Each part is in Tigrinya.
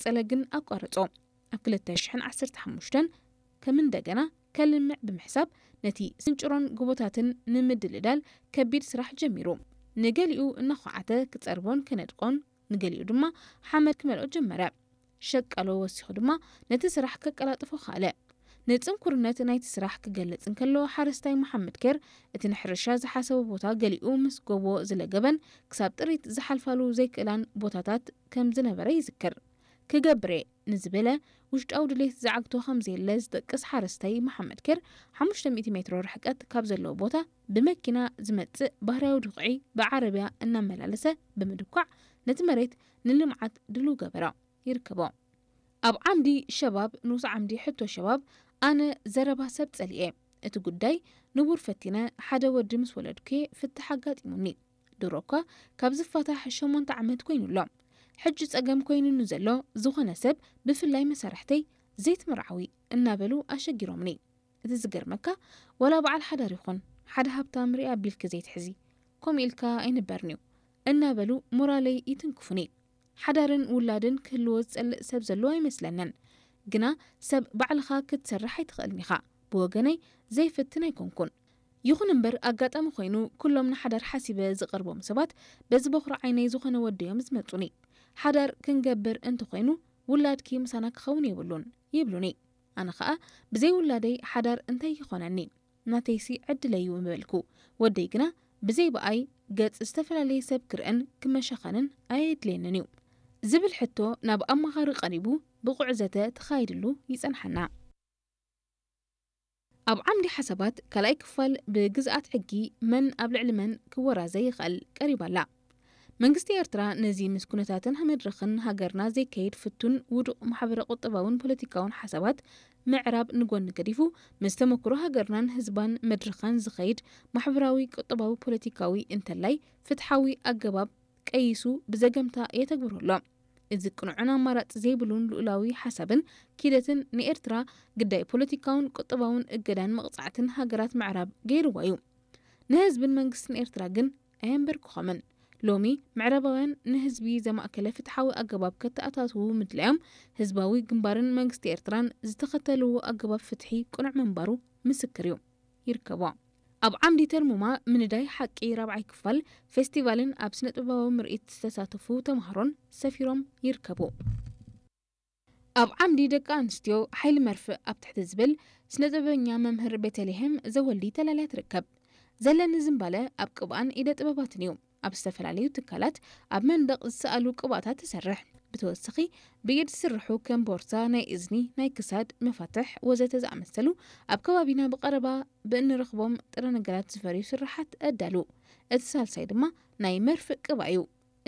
ቀጸለ ግን ኣቋረጾ። ኣብ ክልተ ሽሕን ዓሰርተ ሓሙሽተን ከም እንደገና ከልምዕ ብምሕሳብ ነቲ ስንጭሮን ጎቦታትን ንምድልዳል ከቢድ ስራሕ ጀሚሩ። ንገሊኡ እናዃዓተ ክጸርቦን ከነድቆን፣ ንገሊኡ ድማ ሓመድ ክመልኦ ጀመረ። ሸቃሎ ወሲኹ ድማ ነቲ ስራሕ ከቀላጥፎ ከኣለ። ንጽንኩርነት ናይቲ ስራሕ ክገልጽ እንከሎ፣ ሓረስታይ መሓመድ ኬር እቲ ንሕርሻ ዝሓሰቦ ቦታ ገሊኡ ምስ ጎቦ ዝለገበን ክሳብ ጥሪት ዝሓልፋሉ ዘይክእላን ቦታታት ከም ዝነበረ ይዝክር። ክገብር እየ ንዝበለ ውሽጣዊ ድሌት ዝዓግቶ ከም ዘየለ ዝጠቅስ ሓረስታይ መሓመድ ኬር፣ ሓሙሽተ ሚእቲ ሜትሮ ርሕቀት ካብ ዘለዎ ቦታ ብመኪና ዝመጽእ ባህርያዊ ድኹዒ ብዓረብያ እናመላለሰ ብምድኳዕ ነቲ መሬት ንልምዓት ድሉው ገበሮ። ይርከቦ። ኣብ ዓምዲ ሸባብ፣ ንኡስ ዓምዲ ሕቶ ሸባብ፣ ኣነ ዘረባ ሰብ ጸሊኤ። እቲ ጉዳይ ንቡር ፈቲነ ሓደ ወዲ ምስ ወለድኩ ፍታሕ ኣጋጢሙኒ። ድሮ እኳ ካብ ዝፋታሕ ሸሞንተ ዓመት ኮይኑ ኣሎ። ሕጂ ጸገም ኮይኑ ንዘሎ ዝኾነ ሰብ፣ ብፍላይ መሳርሕተይ፣ ዘይትምርዓዊ እናበሉ ኣሸጊሮምኒ። እቲ ዝገርመካ፣ ዋላ በዓል ሓዳር ይኹን ሓደ ሃብታም ሪኣ ኣቢልኪ ዘይትሕዚ፣ ከምኡ ኢልካ ኣይንበርን'ዩ እናበሉ ሞራለይ ይትንክፉኒ። ሓዳርን ውላድን ክህልዎ ዝጸልእ ሰብ ዘሎ ኣይመስለንን። ግና ሰብ ባዕልኻ ክትሰርሕ ኣይትኽእልን ኢኻ። ብወገነይ ዘይፍትን ኣይኮንኩን። ይኹን እምበር ኣጋጣሚ ኮይኑ ኩሎም ንሓዳር ሓሲበ ዝቐርቦም ሰባት በዚ በኹሪ ዓይነይ ዝኾነ ወደዮም ዝመጹኒ። ሓዳር ክንገብር እንተኾይኑ ውላድኪ ምሳና ክኸውን የብሉን ይብሉኒ። ኣነ ኸኣ ብዘይ ውላደይ ሓዳር እንታይ ይኾነኒ? ናተይሲ ዕድለይ እዩ ምበልኩ። ወደይ ግና ብዘይ ብኣይ ገጽ ዝተፈላለየ ሰብ ክርእን ክመሻኸንን ኣየድልየንን እዩ ዝብል ሕቶ ናብ ኣማኻሪ ቀሪቡ ብቑዕ ዘተ ተኻይድሉ ይጸንሓና። ኣብ ዓምዲ ሓሳባት ካልኣይ ክፋል ብግዝኣት ሕጊ መን ኣብ ልዕሊ መን ክወራዘ ይኽእል ቀሪባ ኣላ። መንግስቲ ኤርትራ ነዚ ምስ ኩነታትን መድረኽን ሃገርና ዘይከይድ ፍቱን ውዱቕ ማሕበረ ቁጠባውን ፖለቲካውን ሓሳባት ምዕራብ ንጎኒ ገዲፉ፣ ምስ ተመክሮ ሃገርናን ህዝባን መድረኻን ዝኸይድ ማሕበራዊ ቁጠባዊ ፖለቲካዊ እንተላይ ፍትሓዊ ኣገባብ ቀይሱ ብዘገምታ የተግብሮ ኣሎ። እዚ ቅኑዕን ኣማራጺ ዘይብሉን ልኡላዊ ሓሳብን ኪደትን ንኤርትራ ግዳይ ፖለቲካውን ቁጠባውን እገዳን መቕጻዕትን ሃገራት ምዕራብ ገይርዋ እዩ። ንህዝብን መንግስትን ኤርትራ ግን ኣየንበርክኾምን። ሎሚ ምዕራባውያን ንህዝቢ ዘማእከለ ፍትሓዊ ኣገባብ ከተኣታትዉ ምድላዮም፣ ህዝባዊ ግንባርን መንግስቲ ኤርትራን ዝተኸተልዎ ኣገባብ ፍትሒ ቅኑዕ ምንባሩ ምስክር እዩ። ይርከቦ። ኣብ ዓምዲ ተርሙማ ምንዳይ ሓቂ ራብዓይ ክፋል ፌስቲቫልን ኣብ ስነ ጥበባዊ ምርኢት ዝተሳተፉ ተምሃሮን ሰፊሮም ይርከቡ። ኣብ ዓምዲ ደቂ ኣንስትዮ ሓይሊ መርፍእ ኣብ ትሕቲ ዝብል ስነ ጥበበኛ መምህር ቤተልሔም ዘወልዲ ተላልያ ትርከብ። ዘለኒ ዝንባለ ኣብ ቅብኣን ኢደ ጥበባትን እዩ። ኣብ ዝተፈላለዩ ትካላት ኣብ መንደቕ ዝሰኣሉ ቅብኣታት ትሰርሕ። ብተወሳኺ ብኢድ ዝስርሑ ከም ቦርሳ፣ ናይ እዝኒ፣ ናይ ክሳድ፣ መፋትሕ ወዘተ ዝኣመሰሉ ኣብ ከባቢና ብቐረባ ብእንረኽቦም ጥረ ነገራት ዝፈርዩ ስርሓት ኣዳሉ። እቲ ሳልሳይ ድማ ናይ መርፍእ ቅብኣ እዩ።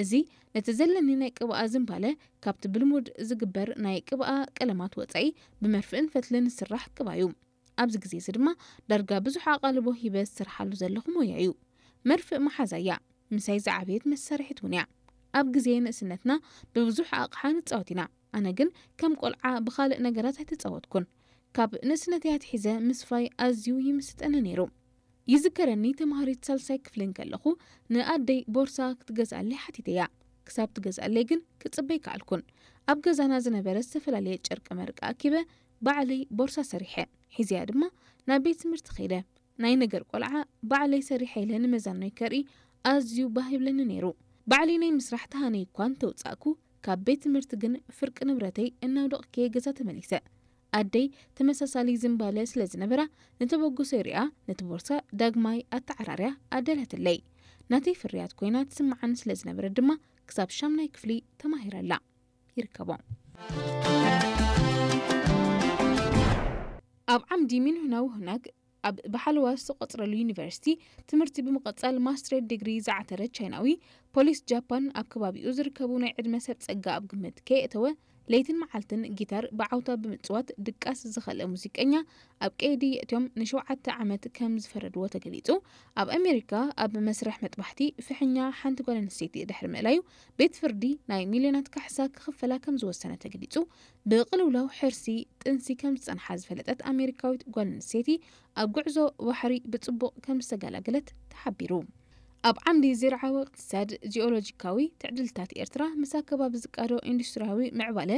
እዚ ነቲ ዘለኒ ናይ ቅብኣ ዝንባለ ካብቲ ብልሙድ ዝግበር ናይ ቅብኣ ቀለማት ወጻኢ ብመርፍእን ፈትልን ዝስራሕ ቅብኣ እዩ። ኣብዚ ግዜ እዚ ድማ ዳርጋ ብዙሕ ኣቓልቦ ሂበ ዝሰርሓሉ ዘለኹ ሞያ እዩ። መርፍእ መሓዛ እያ። ምሳይ ዝዓበየት መሳርሒት እውን እያ። ኣብ ግዜ ንእስነትና ብብዙሕ ኣቕሓ ንጻወት ኢና። ኣነ ግን ከም ቆልዓ ብኻልእ ነገራት ኣይተጻወትኩን። ካብ ንእስነተይ ኣትሒዘ ምስፋይ ኣዝዩ ይምስጠኒ ነይሩ። ይዝከረኒ ተምሃሪት ሳልሳይ ክፍሊ እንከለኹ ንኣደይ ቦርሳ ክትገዝኣለይ ሓቲተያ። ክሳብ ትገዝኣለይ ግን ክጽበይ ከኣልኩን። ኣብ ገዛና ዝነበረ ዝተፈላለየ ጨርቂ መርቂ ኣኪበ ባዕለይ ቦርሳ ሰሪሐ። ሒዘያ ድማ ናብ ቤት ትምህርቲ ከይደ። ናይ ነገር ቆልዓ ባዕለይ ሰሪሐ ኢለ ንመዛኖይ ከርኢ ኣዝዩ ባህ ይብለኒ ነይሩ። ባዕለይ ናይ ምስራሕ ተሃነይ እኳ እንተውጻእኩ፣ ካብ ቤት ትምህርቲ ግን ፍርቂ ንብረተይ እናውደቕኩ ገዛ ተመሊሰ። ኣደይ ተመሳሳሊ ዝንባለ ስለ ዝነበራ፣ ንተበግሶይ ሪኣ ነቲ ቦርሳ ዳግማይ ኣተዓራርያ ኣዳልያትለይ። ናተይ ፍርያት ኮይና ትስምዓኒ ስለ ዝነበረት ድማ ክሳብ ሻምናይ ክፍሊ ተማሂረ ኣላ። ይርከቦ። ኣብ ዓምዲ ሚንሁናው ሁናግ ኣብ ብሓለዋ ዝተቖጽረሉ ዩኒቨርሲቲ ትምህርቲ ብምቕጻል ማስትሬት ዲግሪ ዝዓተረ ቻይናዊ፣ ፖሊስ ጃፓን ኣብ ከባቢኡ ዝርከቡ ናይ ዕድመ ሰብ ጸጋ ኣብ ግምት ከየእተወ፣ ለይትን መዓልትን ጊታር ብዓውታ ብምጽዋት ድቃስ ዝኸልአ ሙዚቀኛ ኣብ ቀይዲ የእትዮም ንሸውዓተ ዓመት ከም ዝፈረድዎ ተገሊጹ። ኣብ ኣሜሪካ ኣብ መስርሕ መጥባሕቲ ፍሕኛ ሓንቲ ጓል ኣንስተይቲ ድሕሪ ምእላዩ፣ ቤት ፍርዲ ናይ ሚልዮናት ካሕሳ ክኽፈላ ከም ዝወሰነ ተገሊጹ። ብቅልውላው ሕርሲ ጥንሲ ከም ዝጸንሓ ዝፈለጠት ኣሜሪካዊት ጓል ኣንስተይቲ፣ ኣብ ጉዕዞ ባሕሪ ብጽቡቕ ከም ዝተገላገለት ተሓቢሩ። ኣብ ዓምዲ ዝርዓዊ እቅትሳድ፣ ጂኦሎጂካዊ ትዕድልታት ኤርትራ ምስ ኣከባቢ ዝቃዶ ኢንዱስትሪያዊ ምዕባለ